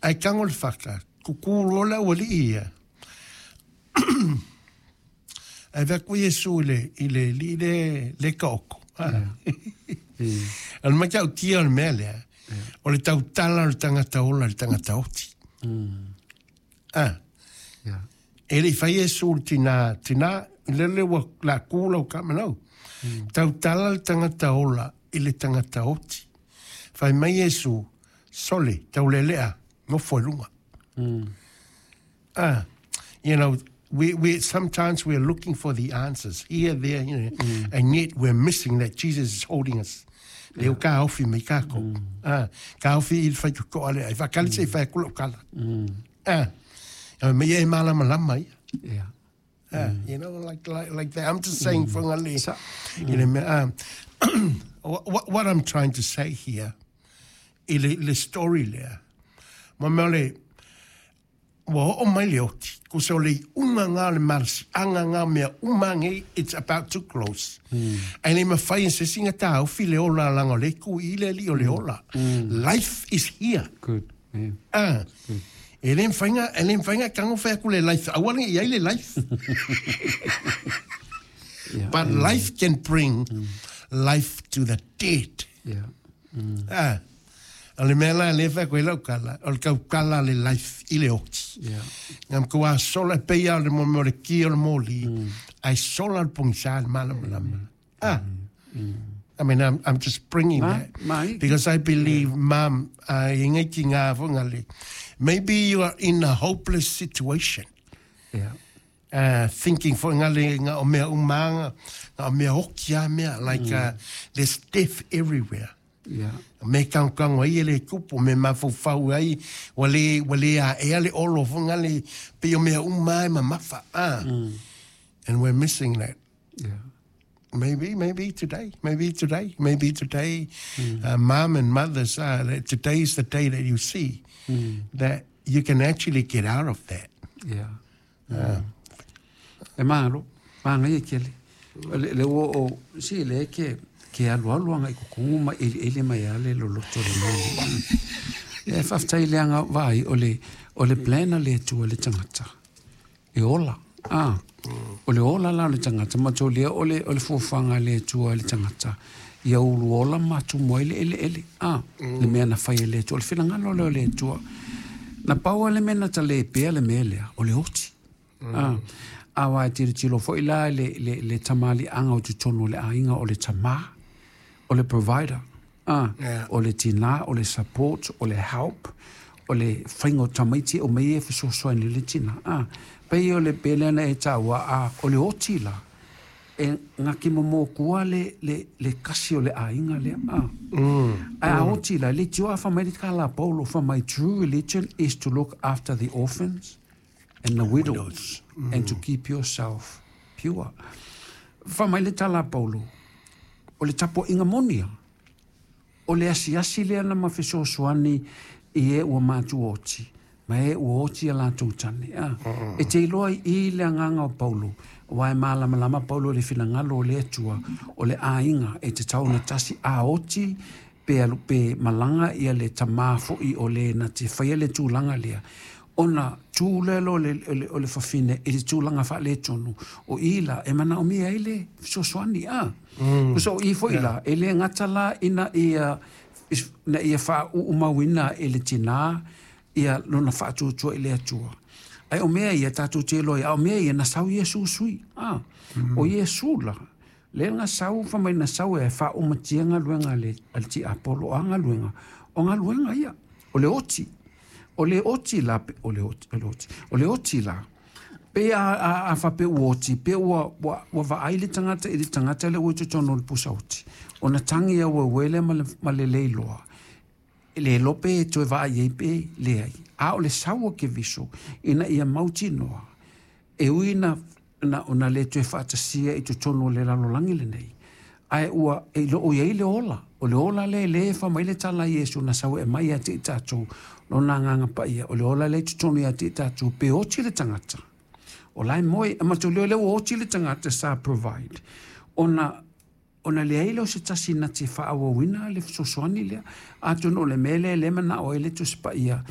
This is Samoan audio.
Ae tago le fata, tutu loa le aualii ia, ae vaai atu Iesu i le alii lea e taoto. O le matautia o le mea lea, o le tautala o le tagata ola i le tagata oti. E le i fai Iesu i le tina, tina, lele ua la tu lau tama, no. Tautala le tagata ola i le tagata oti. Fai mai Iesu, sole, taulealea, nofo i luga. We sometimes we are looking for the answers here, there, and yet we're missing that Jesus is holding us. Leo ka ofi mai kākou. Ka ofi i le faitotoa lea. I whakali se i whai kula o kala. Me e malama lama ia. Like that. I'm just saying for ngale. What I'm trying to say here, i le story lea, ma mea le, ua oo mai le oti, ko se o le iuga ngā o le malosiaga ngā mea uma nei, it's about to close. Ae le mafai e se isi ona taofi le ola leaga o lea e tu i le alii o le ola. Life is here. Good. Yeah. E le mafai ona, e le mafai ona tago fai atu le life, aua ne i ai le life. But life can bring life to the dead. O le mea la lea e fai atu ai lau tala, o le tautala le life i le oti. Ngā matua sola e pei o le mo le ki o le moli, ai sola le pogisa le malamalama. I mean, I'm just bringing that because I believe, mom, i ngai ki ngā whangale, maybe you are in a hopeless situation. Thinking for ngale ngā o mea umanga, ngā o mea oki a mea, like there's death everywhere. Me kango ai e le tupu, me mafaufau ai, ua le a ea le olo whangale, pe o mea uma e mamafa. And we're missing that. Maybe today, maybe today, maybe today, mom and mothers, that today is the day that you see that you can actually get out of that. E malo, māngai e kele. Le ua o, si le ke alu alu anga i kukungu ma eli eli mai ale lo loto le mani. E whaftai le anga vai o le plan a le Atua le tangata. E ola. O le ola la o le tangata, ma tō lea o le fuafuaga le Atua le tangata. Ia ulu ola ma tumu ai le ele ele. Le mea na fai e le Atua. O le finagalo lea o le Atua. Na pau le mea na ta le pea le mea lea, o le oti. A wa e tiro tiro foi la le tamali anga o totonu o le aiga o le tamā, o le provider. O le tina, o le support, o le help, o le whainga o tamaiti o mei e fesoasoani le tina. Pei o le pele na e taua, a, o le oti la, e ngaki mo kua le kasi o le aiga lea. A oti la, le tio a whamai le kala Paulo, whamai true religion is to look after the orphans and the widows and to keep yourself pure. Whamai le tala Paulo, o le tapo inga monia, o le asiasi lea na ma fesoasoani i e ua mātu oti, ma e ua oti a latou tane. E te iloa i le agaga o Paulo, wa e malamalama Paulo le finagalo o le Atua, o le aiga e te tau na tasi a oti, pe alu pe malaga ia le tamā fo'i o le na te faia le tulaga lea. Ona tū lea o le fafine i le tulaga faaletonu, o i la e manaomia ai le fesoasoani a. So o i fo'i la, e le gata la ina ia, na ia faauu e le tinā, ia lona faatuatua i le Atua. Ai o mea ia tatou te iloa ai, a o mea ia na sau Iesu sui. O Iesu la, le na sau fa mai na sau e faaumatia galuega a le tiapolo a galuega, o galuega ia, o le oti. O le oti la, o le oti, o le oti, o le oti la, pe a faapea ua oti, pe ua vaai le tagata i le tagata le ua i totonu o le pusa oti. Ona tagi au uele ma le leiloa. Le lope e toe vaai ai pe leai. A o le sau o Keriso, ina ia mautinoa, e ui na ona le toe faatasia i totonu o le lalolagi lenei. Ae ua e loo i ai le ola. O le ola le le fa mai le tala Iesu na sau e mai ia te i tātou lona agaga paia. O le ola le i totonu ia te i tātou pe oti le tagata. O lai moe, e matou leo le ua oti le tagata sa provide. Ona leai lea o se tasi na te faaauauina le fesoasoani lea. Atonu o le mea lea e le manao ai le Tusi Paia.